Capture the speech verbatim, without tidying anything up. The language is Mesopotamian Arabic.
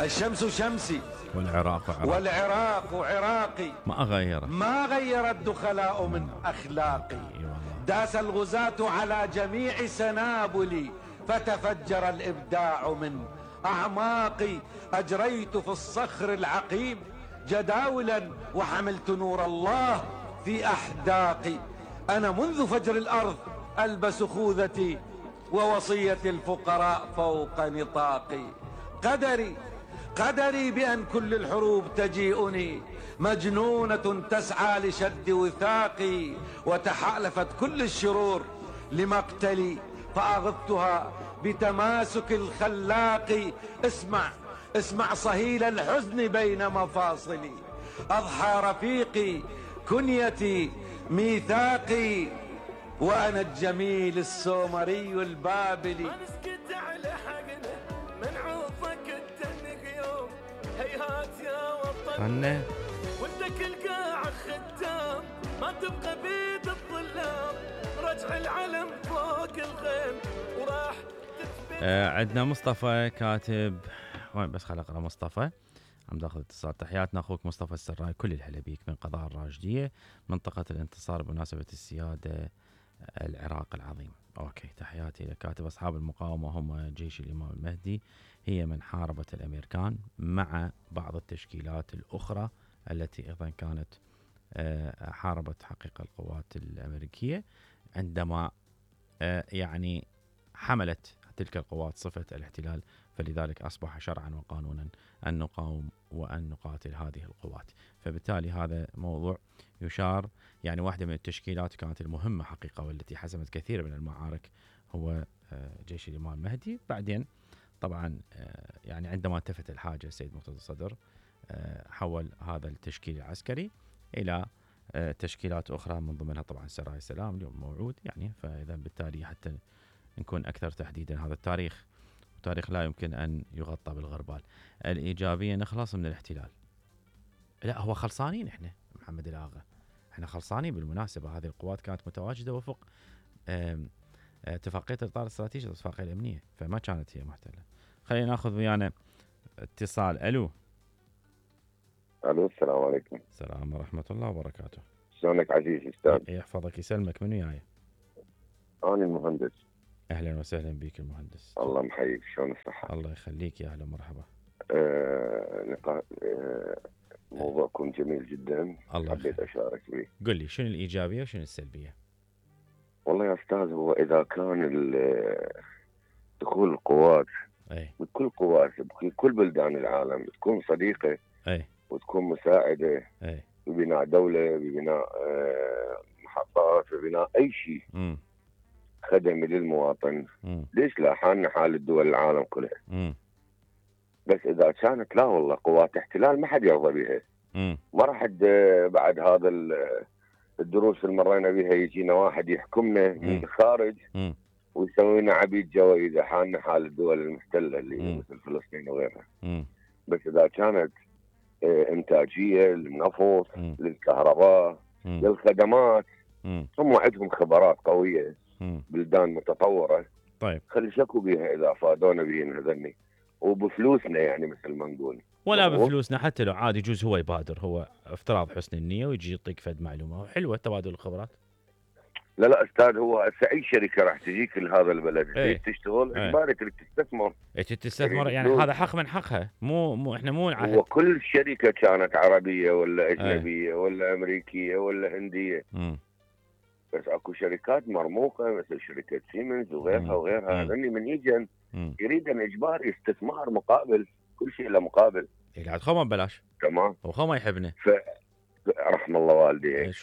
الشمس شمسي والعراق عراقي والعراق عراقي، ما غير ما غير الدخلاء من أخلاقي. داس الغزاة على جميع سنابلي فتفجر الإبداع من أعماقي. أجريت في الصخر العقيم جداولا وحملت نور الله في أحداقي. أنا منذ فجر الأرض ألبس خوذتي ووصية الفقراء فوق نطاقي. قدري قدري بأن كل الحروب تجيئني مجنونة تسعى لشد وثاقي، وتحالفت كل الشرور لمقتلي فأغضتها بتماسك الخلاق. اسمع اسمع صهيل الحزن بين مفاصلي، أضحى رفيقي كنيتي ميثاقي، وأنا الجميل السومري البابلي. هيهات يا وطن أنا وانت كل قاع ختام، ما تبقى بيد الظلام، رجع العلم فوق الغيم وراح آه عندنا مصطفى كاتب. وين بس خل اقرا مصطفى. عم داخل اتصال. تحياتنا اخوك مصطفى السراي، كل الهلا بيك من قضاء الراشديه منطقه الانتصار بمناسبه السياده العراق العظيم. اوكي، تحياتي لكاتب. اصحاب المقاومه هم جيش الامام المهدي، هي من حاربت الامريكان مع بعض التشكيلات الاخرى التي ايضا كانت حاربت حقيقه القوات الامريكيه عندما يعني حملت تلك القوات صفه الاحتلال، فلذلك اصبح شرعا وقانونا ان نقاوم وان نقاتل هذه القوات. فبالتالي هذا موضوع يشار، يعني واحده من التشكيلات كانت المهمه حقيقه والتي حسمت كثير من المعارك هو جيش الامام المهدي. بعدين طبعا يعني عندما التفت الحاجه السيد مرتضى الصدر حول هذا التشكيل العسكري الى تشكيلات اخرى من ضمنها طبعا سرايا السلام اليوم موعود، يعني فاذا بالتالي حتى نكون اكثر تحديدا. هذا التاريخ تاريخ لا يمكن ان يغطى بالغربال. الايجابيه نخلص من الاحتلال، لا هو خلصانين احنا محمد الاغا، احنا خلصانين بالمناسبه. هذه القوات كانت متواجده وفق اتفاقيه الاطار الاستراتيجي الاتفاقيه الامنيه، فما كانت هي محتله. خلينا ناخذ ويانا اتصال. الو الو السلام عليكم. السلام ورحمه الله وبركاته. شلونك عزيزي استاذ؟ يحفظك يسلمك. من وياي؟ انا المهندس. اهلا وسهلا بك المهندس. الله محييك، شلون الصحه؟ الله يخليك، يا اهلا ومرحبا. آه نقا... آه موضوعكم جميل جدا، الله حبيت اشارك به. قل لي شنو الايجابيه وشنو السلبيه؟ والله يا استاذ، هو اذا كان دخول القوات اي بكل قوات بكل بلدان العالم تكون صديقه اي وتكون مساعده اي ببناء دوله، ببناء آه محطات، ببناء اي شيء امم خدمي للمواطن، امم ليش لا؟ حالنا حال الدول العالم كلها. امم بس اذا كانت لا والله قوات احتلال ما حد يرضى بها. امم ما راح بعد هذا الدروس اللي مرينا بها يجينا واحد يحكمنا من الخارج امم ويسوي لنا عبيد جوائز، حالنا حال الدول المحتله اللي مم. مثل فلسطين وغيرها. امم بس اذا كانت انتاجيه للنفط، مم. للكهرباء، مم. للخدمات، امم هم عندهم خبرات قويه، امم بلدان متطوره، طيب خلي شكوا بها اذا فادونا بهن هذني وبفلوسنا، يعني مثل ما نقول. ولا بفلوسنا، حتى لو عادي يجوز هو يبادر، هو افتراض حسن النيه ويجي يعطيك فد معلومه حلوه، تبادل الخبرات. لا لا استاذ، هو هسه اي شركه راح تجيك لهذا البلد ايه. تريد تشتغل ايه. اجباري تريد تستثمر. إيه تستثمر، يعني فلوس. هذا حق من حقها، مو مو احنا مو نعهد. هو كل شركه كانت عربيه ولا اجنبيه ايه. ولا امريكيه ولا هنديه، امم بس اكو شركات مرموقه مثل شركه سيمنز وغيرها مم. وغيرها، مم. هذني من يجن امم يريد ان اجباري استثمار مقابل كل شيء له مقابل. قاعد خو ما ببلاش، تمام. هو خو ما يحبنا. ف رحم الله والديك. إيه